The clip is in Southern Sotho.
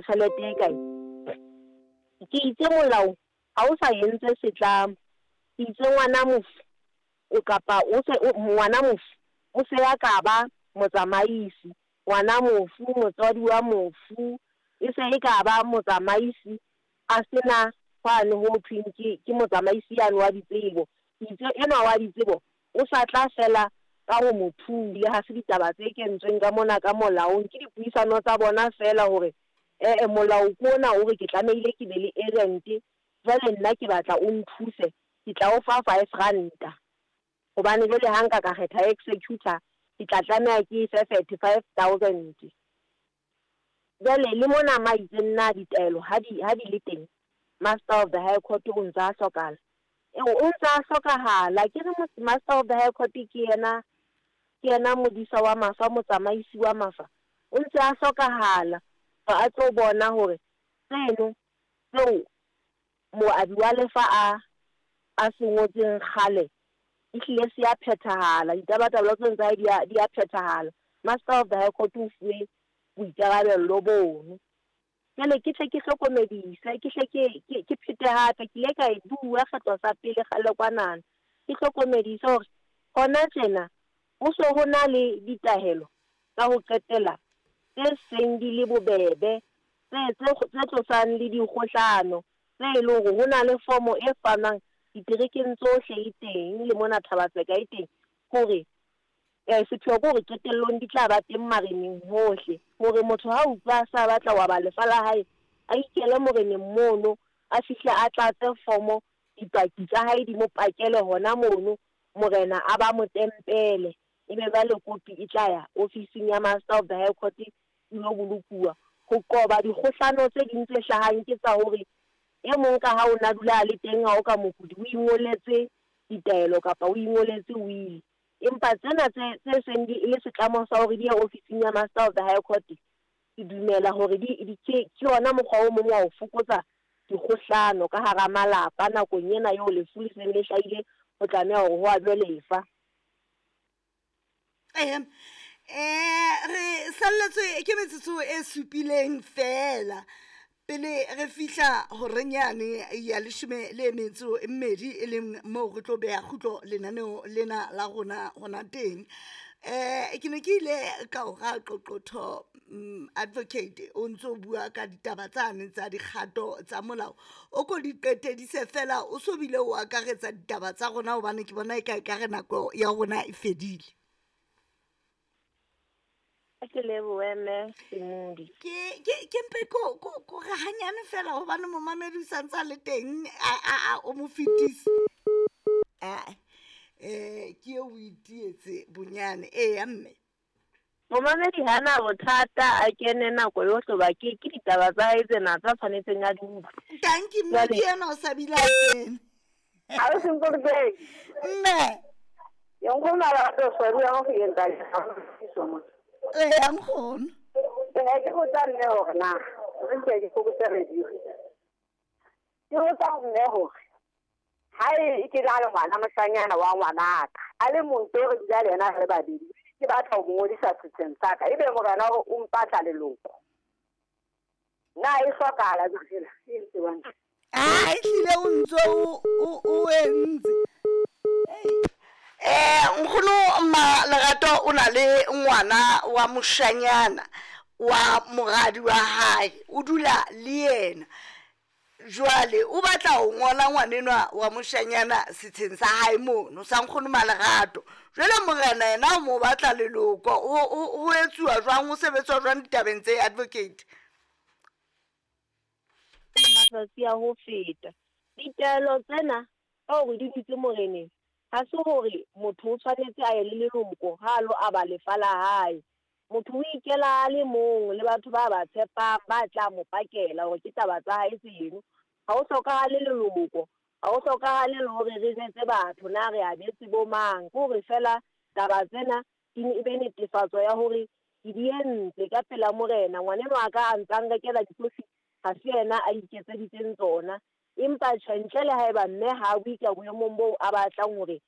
Tjhelete e kae? Ke itse molao ha o sa entse setlamo. Ke itse ngwana mofu o kapa o se ngwana mofu o se a ka ba motsamaisi. Ngwana mofu, motswadi wa mofu e se e ka ba motsamaisi a se na hwane ho thweng ke ke motsamaisi yane wa ditsebo. Ke itse enwa wa ditsebo o sa tla fela ka ho mo Le ha se ditaba tse kentsweng ka mona ka molaong, ke dipuisano tsa bona feela hore e-e molao ke ona o re ke tlamehile ke be le agent, jwale nna ke batla o nthuse, ke tla o fa R5. Hobane jwale ha nka ka kgetha executor, ke tla tlameha ke e fe 35 000. Jwale le mona ma itseng na ditaelo ha di le teng, Master of the High Court o ntse a hlokahala. Eo o ntse a hlokahala, ke re Master of the High Court ke yena modisa wa mafa, motsamaisi wa mafa. O ntse a hlokahala a tlo bona hore tseno tseo moabi wa lefa a se ngotseng kgale ehlile se ya phethahala, ditabatabelo tseno tsa hae di a phethahala. Master of the High Court o fuwe boikarabello bono. Jwale ke tle ke hlokomedise, ke hle ke phete hape, ke ile ka e bua kgetlo sa pele kgale kwanana. Ke hlokomedise hore hona tjena ho so ho na le ditahelo tsa ho qetela tse seng di le bobebe, tse tlosang le dikgohlano, tse e leng hore ho na le fomo e fanwang diterekeng tsohle e teng le mona Thaba-Tseka e teng hore sepheo ke hore qetellong di tla ba teng mareneng hohle. Hore motho ha utlwa a sa batla ho aba lefa la hae, a ikele moreneng mono, a fihle a tlatse fomo, dipaki tsa hae di mo pakele hona mono, morena a ba mo tempele. Ebe jwale kopi e tla ya ofising ya Master of the High Court e lo bolokuwa. Ho qoba dikgohlano tse ding tse hlahang ke tsa hore e mong ka ha o na dula a le teng ha o ka mokudi o ingoletse ditaelo kapa o ingoletse will. Empa tsena tse seng di le setlamo sa hore di ye ofising ya Master of the High Court, ke dumela hore ke yona mokgwa o mong wa ho fokotsa dikgohlano ka hara malapa nakong ena eo lefu le seng le hlahile ho tlameha hore ho abjwe lefa. Re salletswe ke metsotso e supileng fela pele re fihla horenyane ya 12, e leng moo re tlo beha kgutlo lenaneo lena la rona hona teng. Ke ne ke ile ka o ra qoqotho, advocate, o ntso bua ka ditaba tsane tsa dikgato tsa molao, o ko di qetedise fela, o so bile o akaretsa ditaba tsa rona, hobane ke bona e ka e ka re nako ya rona e fedile. Ke lebohe mme Semodi. Ke mpe ko re hanyane fela, hobane momamedi o santse a le teng, a o mo fetise. Ke eo o itietse bonyane, eya mme. Momamedi hana bothata, a kene nako yohle hoba ke ditaba tsa hae tsena tsa tshwanetseng a di utlwe. Tanki mme, ke ena o sa bile a kene. Ha o sengwe. Mme. Ke nkgono a rata ho ya go yenta mo. Eya nkgono. Ke botsa mme hore na re nke ke fokotse radio. Ke botsa mme hore ha e ke na le ngwana moshanyana wa ngwanaka a le mong to re dula le yena re le babedi, ke batla ho mo ngodisa setsheng sa ka, ebe morena hore o mpatla leloko, na e hlokahala jwang e ntse wang? A ehlile o ntso o entse. Nkgono ma Lerato o na le ngwana wa moshanyana wa moradi wa hae, o dula le yena, jwale o batla ho ngola ngwanenwa wa moshanyana setsheng sa hae mono sa nkgono Malerato. Jwale morena yena o mo batla leloko, ho etsuwa jwang, ho sebetswa jwang ditabeng tse, advocate? Matsatsi a ho feta ditaelo tsena ka hore di dutse moreneng, ha se hore motho o tshwanetse a ye le leloko ha a lo aba lefa la hae. Motho o ikela a le mong le batho ba tshepang ba tla mo pakela hore ke taba tsa hae tseno. Ha ho hlokahale leloko, ha ho hlokahale le hore re jwetse batho na re abetse bo mang. Ke hore fela taba tsena di e be netefatso ya hore ke di entse ka pela morena. Ngwanenwa wa ka a ntsa nrekela dikofi, ha se yena a iketseditseng tsona. Empa tjhe, ntle le haeba mme ha a bue ka boemong boo a batlang hore